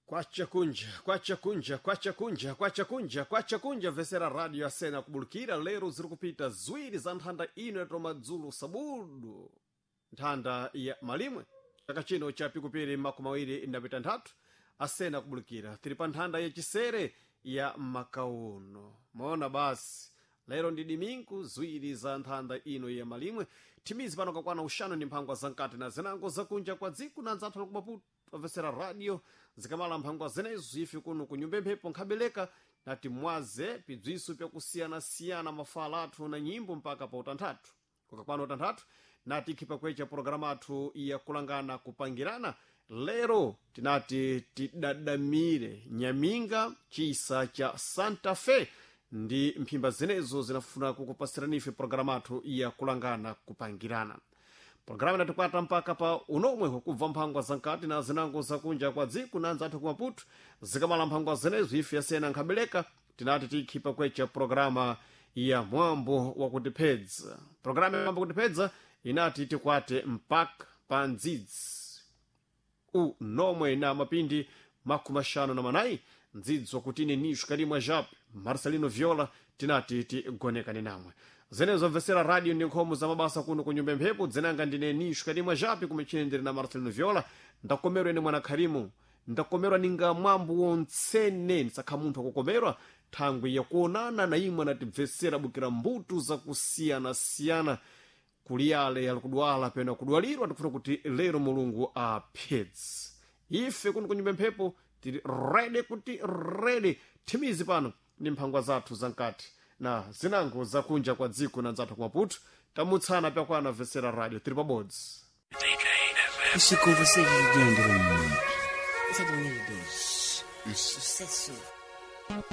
Kwacha kunja, kwacha kunja, kwacha kunja, kwacha kunja, kwacha kunja vesera radio asena kubulukira lero ziri kupita ziwiri za nthanda ino yatoma dzulo sabudu nthanda ya malimwe chaka chino cha pikupiri 2023 asena kubulukira tiri pa nthanda yachisere ya makauno maona basi lero ndi diminku ziwiri za nthanda ino ya malimwe thimizi pano kakwana uxanu ndi mphangwa zamkati na zinango zakunja kwa dziko na nzathu la kumaputo amvesera radio zikamala mphangwa zenezo ife kuno kunyumba mphepo nkhabeleka nati mwaze pibziso pyakusiyanasiyana mafala athu na nyimbo mpaka pa utanthatu kukakwana utanthatu nati ikhipa kwecha pologalamu athu yakulangana kupangirana lero tinati tidadamire nyaminga chisa cha santa fe ndi mphimba zenezo zinafuna kukupasirani ife pologalamu athu yakulangana kupangirana programu inatikwata mpaka pa unomwe kubva mphangwa zankati na zinango zakunja kwa dziko na nzathu ku maputo zikamala mphangwa zenezo ife yasena nkhabeleka tinati tikhipa kwecha programa ya mwambo wakutiphedza programa ya mwambo wakutiphedza inati tikwate mpaka pa ndzidzi unomwe na mapindi makumi axanu na manayi ndzidzi wakutine nixo kalimwa jape marcelino viola tinati tigonekane namwe zenezo mvesera radio ndi nkhomo za mabasa kuno ku nyumba mphepo dzinanga ndine nixo kalimwa jape kumechene ndiri na marcelino viola ndakomerwa ine mwana kharimu ndakomerwa ninga mwambo wontsene ndisakha munthu akukomerwa thangwi yakuonana na imwe anatibvesera bukira mbuto zakusiyanasiyana kuliyale alikudwala pena kudwalirwa tikufuna kuti lero mulungu aphedze ife kuno kunyumba mphepo tili rede kuti rede thimizi pano ndi mphangwa zathu zamkati na zinango zakunja kwa dziko na nzathu kumaputo tamutsana pyakwana vesera radio tili pabodzi E se com vocês de André Isso é 2002. Isso. Sucesso.